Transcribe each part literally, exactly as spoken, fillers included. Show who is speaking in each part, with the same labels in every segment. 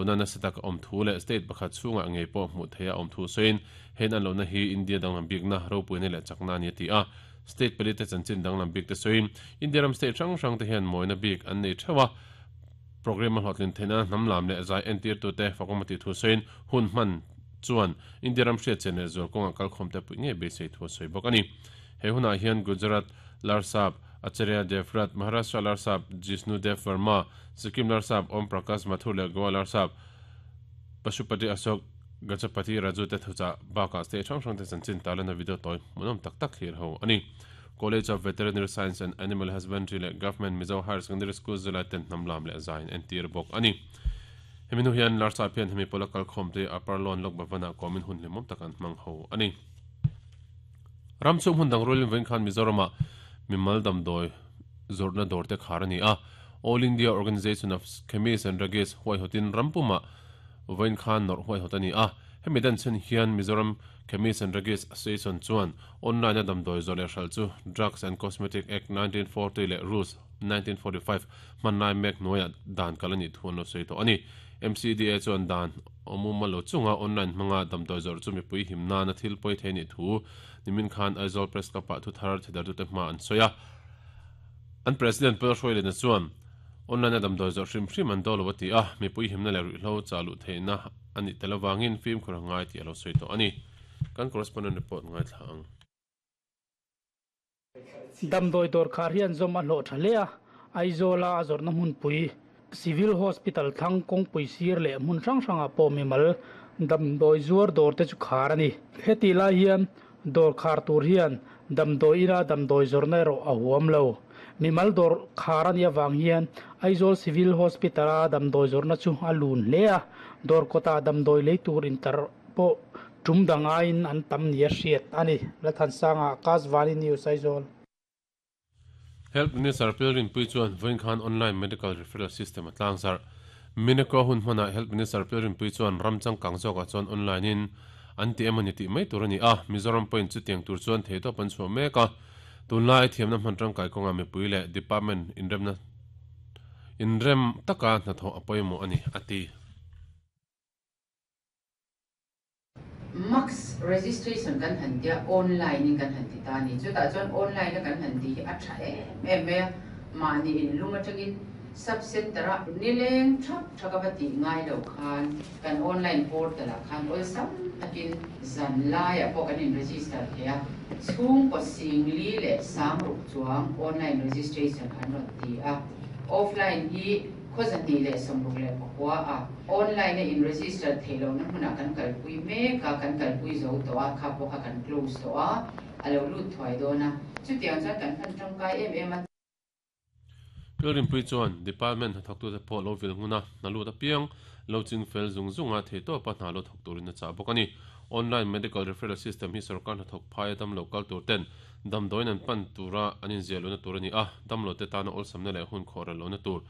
Speaker 1: lo na na satak om thu le state pakhat chunga ngei pawh hmuh theia om thu soin hen an lo na hi India danglam bik na ropui ne le chakna ni ti a state pali te chanchin danglam bik te soin India ram state rang rang te hian moina bik an nei thewa program a hotlin thena namlam le zai entir tu te fakomati thu soin hun man chuan India ram hriat chen le zor konga kal khom te pui nge be sei thu soi bok ani he huna hian Gujarat Larsap Acharya Devrat Maharashtra Larsap Jishnu Dev Verma Sikkim Larsap Om Prakash Mathur le Goa Larsap Pashupati Ashok Gajapati Raju te thucha baka state thang thang te chanchin talana video toy munom tak tak hir ho ani College of Veterinary Science and Animal Husbandry le Government Mizo Higher Secondary School zula ten namlam le zain en tir bok ani heminu hian Larsap hian hemi polakal khom te upper lon lok bavana komin hun lemom takan mang ho ani ramchum hun dang rolin ven khan Mizorama mimal dam doi zorna dorte kharani a All India Organization of Chemists and Druggists huai hotin rampuma ven khan nor huai hotani a hemi dan chen hian Mizoram Chemists and Druggists Association chuan online dam doi zole hral chu Drugs and Cosmetic Act nineteen forty le Rules nineteen forty-five manai mek noya dan kalani thuan lo sei to ani M C D A chuan dan omuma lo chunga online manga dam doi zor chu mi pui himna na thil poi theni thu nimin khan Aizawl Press Club pa thu thar thedar tu te ma an soya an president Paul Hroile na chuan online dam doi zor hrim hrim an do lo ti a mi pui himna le ri hlo chalu theina ani telawangin film khurangai ti alo soi to ani kan correspondent report ngai thlang
Speaker 2: dam doi dor khar hian zom a hlo thalea Aizola azor na mun pui Civil Hospital thang kong pui sir le mun rang ranga po mi mal dam doi zuar dor te chu khar ani heti la hian dor khar tur hian dam doi ira dam doi zor na ro a huam lo mi mal dor khar ani awang hian Aizawl Civil Hospital a dam doi zor na chu a lun le a dor kota dam doi lei tur inter po tum dangain an tam nia hriat ani lathan sanga Akashvani News Aizawl.
Speaker 1: Health Minister Pilrin Pui chuan voin khan online medical referral system atlang sar Mineko hun hmana Health Minister Pilrin Pui chuan ramchang kangzoka chuan online in anti emani ti mai tur ani a Mizoram point chu tiang tur chuan theito pan chu meka tunlai thiamna hman tangkai konga mi pui le department inremna inrem taka na tho apoimo ani ati
Speaker 3: Max registration kan han dia online in kan han ti ta ni chu ta chuan online kan han ti a tha em em me ma ni in luma tangin sub center a nileng thap thaka ba ti ngai lo khan kan online portal a khan ol sam takin zan lai a pawh kan in register thea chung ko sing li le sang ruk chuang online registration an ron ti a offline hi khozani le somruk le pakwa a online in register thelo na huna kan kal pui me ka kan kal pui zo to a kha po kha kan close to a alo lut thwai do na chu tiang chuan kan phan tangkai em em a
Speaker 1: Pilrin Pui chuan department thak tu te pawh lo vil huna na lut apiang lo ching fel zung zunga theito pa hna lo thok turin a cha bawk ani online medical referral system hi sarkar hna thok phai dam local tur ten dam doin an pan tura anin zialo na tur ani a dam lo te tana ol samna le hun khor lo na tur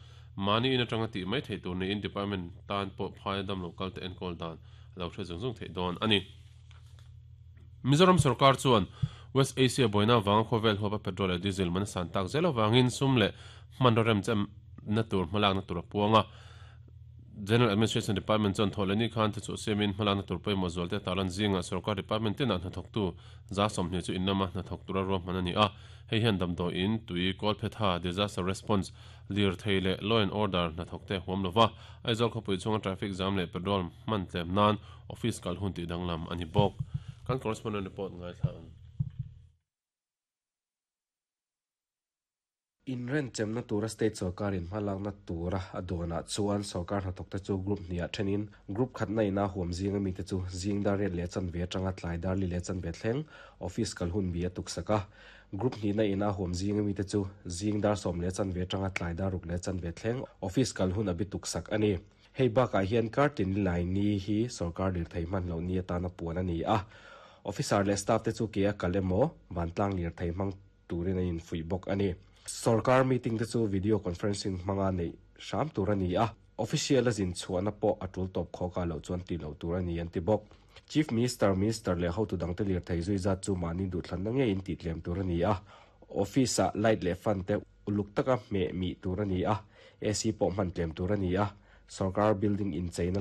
Speaker 1: mani in atanga ti mai thei tur ni in department tan pawh phai dam local te enkol dan lo hre zung zung thei dawn ani Mizoram sarkar chuan West Asia boina wang khovel hopa petrol le diesel man san tak zelo wangin sum le manrem chem na tur hmalak na tur puanga General Administration Department chuan tholani khan te chu semin hmalak na tur pawimawh zual te talan zinga sarkar department tin a hnathawk tu za sawmhnih chu innama hnathawk tura ruahman ani a hei hian damdawi in tui kawl phetha disaster response lir thei le law and order hnathawk te huam lova Aizawl khawpui chunga traffic jam leh petrol hman tlem nan office kal hun tih danglam ani bawk kan correspondent report ngai thlang
Speaker 4: In ren chemna tura state sarkar in hmalakna tura adona chuan sarkar hnathawk te chu group hnia thenin group khatna ina huam zinga mi te chu zingdar riat leh chan ve atanga tlai dar li leh chan ve thleng office kal hun bi a tuksaka group hnihna ina huam zinga mi te chu zingdar sawm leh chan ve atanga tlai dar ruk leh chan ve thleng office kal hun abi tuksak ani hei bakah hian kartin lai ni hi sarkar lir thei hman lo ni atana puan ani a officer leh staff te chu ke a kal emaw vantlang lir thei hmang turin a infui bawk ani sarkar meeting te chu video conferencing hmanga nei hram tur ani a official a zin chhuahna pawh a tul tawp khawka lo chuan ti lo tur ani an ti bawk chief minister minister leh hotu dang te lir thei zui zat chu mahni duhthlanna ngei in tih tlem tur ani a office ah light leh fan te uluk taka hmeh mi tur ani a A C pawh hman tlem tur ani a sarkar building in cheina